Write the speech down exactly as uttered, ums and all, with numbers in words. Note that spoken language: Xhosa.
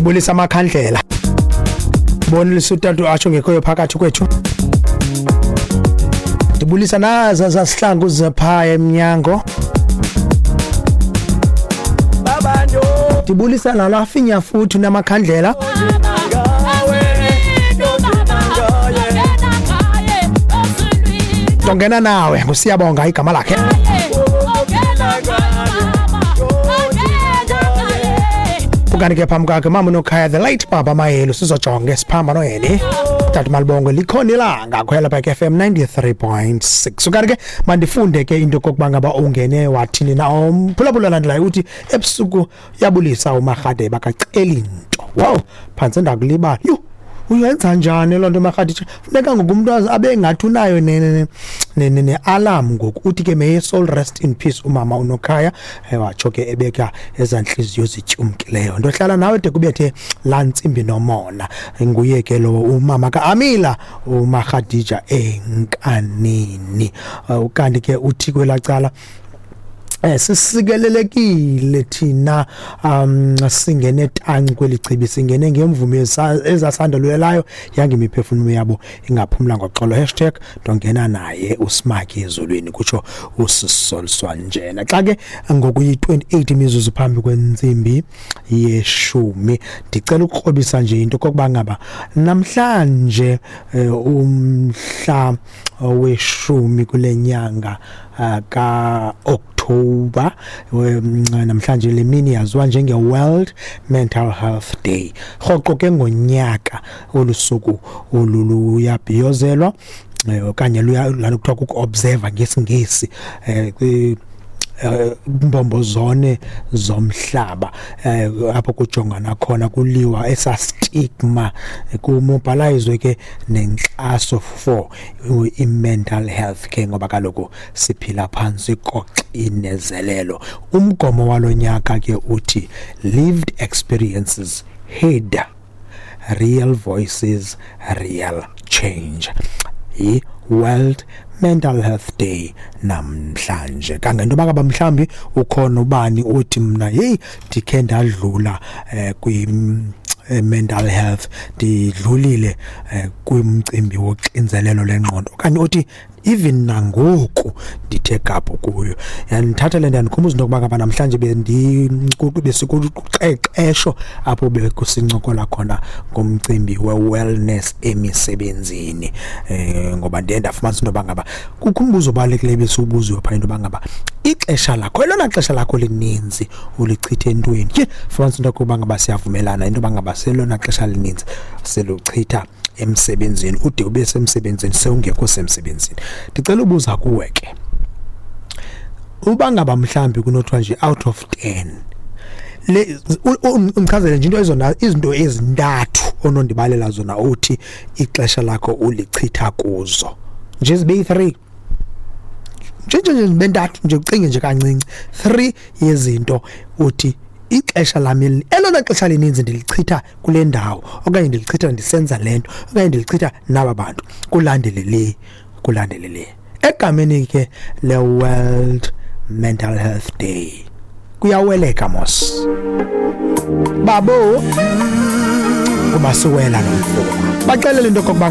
Ndibulisa amakhandlela, bonisa utata atsho ngekhoyo phakathi kwethu. Ndibulisa naza zasihlangu zephaya emnyango. Ndibulisa nala finya futhi namakhandlela. Ndongena nawe nguSiyabonga igama lakhe. Ukanti ke phambi kwakhe mama uNokhaya, the late Baba Mayelo, sizojonga esiphambano yeni tata Malibongwe likhona ilanga khwela back F M ninety-three point six. Ukanti ke mandifunde ke into kokuba ngaba ungene wathini na umphulaphula landelayo. Uthi ebusuku yabulisa uMarhade bakaceli nto. Wow, phantse ndakulibala. Yhu, uyenza njani loo nto, Marhadi? Funeka ngoku umntu abe ngathi unayo ne-alarm ngoku. Uthi ke may his soul rest in peace umama uNokhaya. Watsho ke ebeka ezaa ntliziyo zityumkileyo. Ndohlala nawe de kubethe laa ntsimbi nomona. Nguye ke lo umama ka-Amila, uMarhadija enkanini. Ukanti ke uthi kwelaa cala, Eh sisikelelekile thina, um singene tanci kweli chibi, singene ngemvume ezasandulelayo, yange imiphefumulo yabo ingaphumla ngoxolo. Hashtag ndongena naye uSmaki ezulwini, kutsho usisoliswa njena. Xa ke ngoku yi-twenty-eight imizuzu phambi kwentsimbi yeshumi, ndicela ukukrobisa nje into kokuba ngaba namhlanje, umhla weshumi kule nyanga ka-October, namhlanje le mini yaziwa njenge-World Mental Health Day. Rhoqo ke ngonyaka olu suku olu luyabhiyozelwa, okanye luya laa nto kuthiwa kuku-observe ngesiNgesi, um mbombo zone zomhlaba, eh apho kujongana khona kuliwa esa stigma, kumobilizwe ke nenkxaso for i-mental health ke, ngoba kaloku siphila phantsi koxinezelelo. Umgomo walonyaka ke uthi "Lived experiences heard, real voices, real change." I-World Mental Health Day namhlanje, kangento bakaba mhlambi ukhona ubani uthi mna hey, ndikhe ndadlula eh, kwi mental health, ndidlulile eh, kwimcimbi woxinzelelo lengqondo, okanye uthi even nangoku ndithe gabhu kuyo. Yandithatha le nto yandikhumbuza into yokuba ngaba namhlanje besikuqeqesho apho bekusincokola khona ngomcimbi we-wellness emisebenzini, eh ngoba ndiye ndafumanisa into yoba ngaba kukho umbuzo obalulekileyo besiwubuziwe phaa, into yoba ngaba ixesha lakho, elona xesha lakho lininzi ulichithe entweni. Ke fumanisa into yokuba ngaba siyavumelana into yoba ngaba selona xesha lininzi siluchitha emsebenzini, ude ube semsebenzini sewungekho semsebenzini. Ndicela ubuza kuwe ke, uba ngaba mhlambi kunothiwa nje out of ten le, undichazele nje into ezona izinto ezintathu onondibalela zona uthi ixesha lakho ulichitha kuzo, nje zibe yi-three nje nje nje zibe ntathu nje, ucinge nje kancinci, three yezinto uthi ixesha lam elona xesha lininzi ndilichitha kule ndawo, okanye ndilichitha ndisenza le nto, okanye ndilichitha naba bantu, kulandele le, kulandele le. Egameni ke le-World Mental Health Day, kuyaweleka mos babo kuba siwela lo mfula, baxelele into okokuba